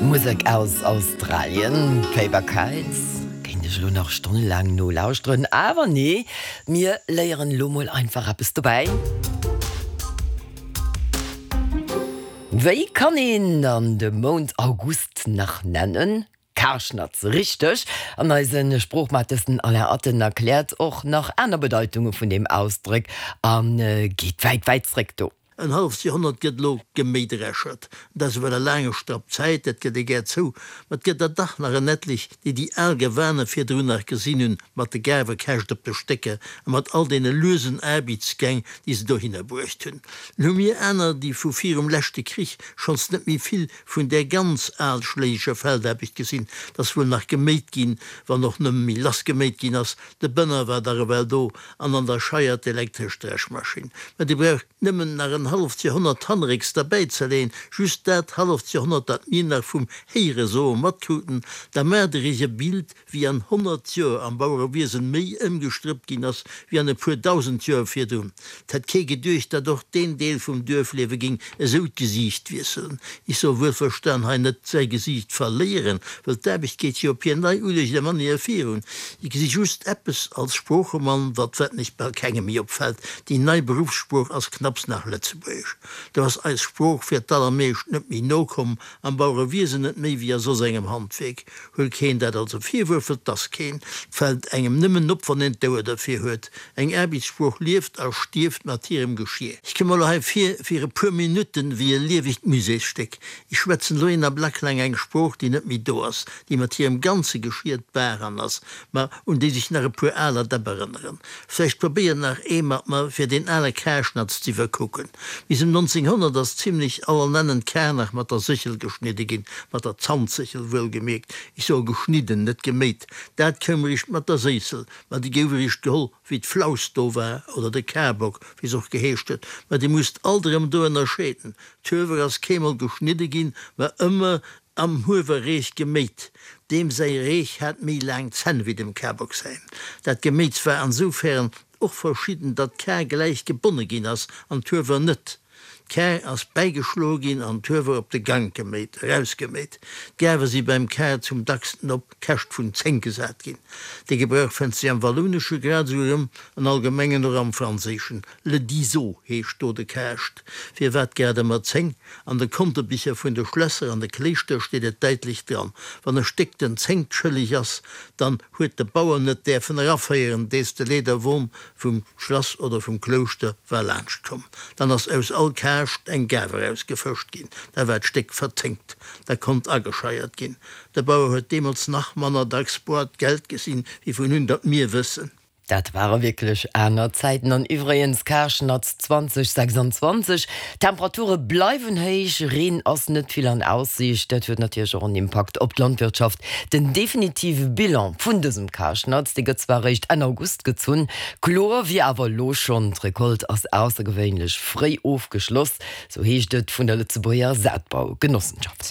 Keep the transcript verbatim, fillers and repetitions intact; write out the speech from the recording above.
Musek aus Australien, Paper Kites. Kéint ech lo nach stonnelaang nolauschteren, awer nee, mir léieren lo mol einfach eppes dobäi. Wéi kann een dann de Mount August nach nennen? Karschnatz, richteg! An eise Sproochmates den Alain Atten erkläert och nach aner Bedeitunge vun deem Ausdrock a geet wäit, wäit zréck do. En halleft Joerhonnert gëtt elo geméidreschert. Dat ass ewell e laange Strapp Zäit, dat gëtt ee gär zou, ma et gëtt der dach nach en etlech, déi déi al Gewane virdrun nach gesinn hunn, mat de Gaarwekäscht op de Stécker a mat all deene luesen Aarbeitsgäng, déi se dohinner bruecht hunn. Dann hu mir aner, déi vu virum leschte Krich schonns net méi vill vun där ganz alschléiger Feldaarbecht gesinn. 't ass wuel nach geméit ginn, wann och nëmme méi lass geméit ginn ass. De Bënner war dach ewell do an an der Scheier d'elektresch Dreschmaschinn. Mä déi brauch nëmmen nach en halleft Joerhonnert hannerécks derbäizeleeën, just dat halleft Joerhonnert, dat mir nach vum Héieresoe matkruten, da maacht Der Iech e Bild, wéi an honnert Joer am Bauerewiesen méi ëmgestrëppt ginn ass, wéi an e puer dausend Joer virdrun. 't hätt kee geduecht, datt och deen Deel vum Duerfliewe géing esou d'Gesiicht wiesselen. Ech soe wuelverstan hei net säi Gesiicht verléieren, wëll d'Aarbecht geet jo op hir nei uleegte Manéier virun. Ech gesi just eppes als Sproochemann, wat wettnech bal kengem méi opfält, Déi nei Beruffssprooch ass knapps nach Lëtzebuergesch. Do ass eis Sprooch fir d'allermeescht net méi no komm, am Bauerewiesen net méi wéi a soss engem Handwierk. Huel keen dat als e Virwuerf, well 't ass keen. 't fält engem nëmmen op, wann een d'Ouer derfir huet. Eng Aarbechtssprooch lieft a stierft mat hirem Geschier. Ech koum mer elo hei vir fir e puer Minutten wéi e liewegt Muséesstéck. Ech schwätzen elo een Ablack laang eng Sprooch, déi net méi do ass, déi mat hirem ganze Geschier d'Baach an ass, ma un déi sech nach e puer aler Däpp erënneren. Vläicht probéiert nach ee mat mer, fir deen ale Karschnatz z'iwwerkucken. Bis ëm nonzénghonnert ass zimlech allernennen d'Kar nach mat der Séchel geschnidde ginn, mat der Zantséchel wuelgemierkt. Ech soe geschnidden, net geméit. Dat koum eréischt mat der Séissel, ma déi gouf eréischt geholl, wéi d'Flaus do war, oder de Karbock, wéi se och geheescht huet. Mä dir musst alt erëm do ënnerscheeden, D'Huewer ass keemol geschnidde ginn, mä ëmmer am Huewerreech geméit. Deem säi Reech hat méi laang Zänn wéi dem Kabock säin. Dat Geméits war ansoufären och verschidden, datt d'Kar gläich gebonne ginn ass an d'Huewer net. D'Kar ass bäigeschloe ginn an d'Huewer op de Gank geméit, erausgeméit. D'Gaarwe si beim Kar zum dacksten op Käscht vun zéng gesat ginn. Dee Gebrauch fënnt sech am Wallounesche grad esou erëm, an allgemengen och am Franséischen. Le diseau heescht do de Kaascht. Firwat grad ëmmer zéng? An de Kontebicher vun de Schlässer an de Kléischter steet et däitlech dran, Wann e Stéck den Zéngt schëlleg ass, dann huet de Bauer net däerfen eraféieren, dees de Leederwon vum Schlass oder vum Klouschter war laanscht komm. Dann ass aus all Kaascht eng Gaarf erausgefëscht ginn, da war d'Stéck verzénkt, da konnt agescheiert ginn. De Bauer huet deemools nach manner dacks boart Geld gesinn, wéi vun un datt mir wëssen. Dat ware wierklech aner Zäiten. An iwwregens, Karschnatz zweitausendsechsundzwanzig, Temperature bleiwen héich, Reen ass net vill an Aussiicht. Dat huet natierlech och en Impakt op d'Landwirtschaft. Den definitive Bilan vun dësem Karschnatz, dee gëtt zwar eréischt Enn August gezunn, kloer wier awer elo schonn, d'Recolte ass aussergewéinlech fréi ofgeschloss, sou heescht et vun der Lëtzebuerger Saatbaugenossenschaft.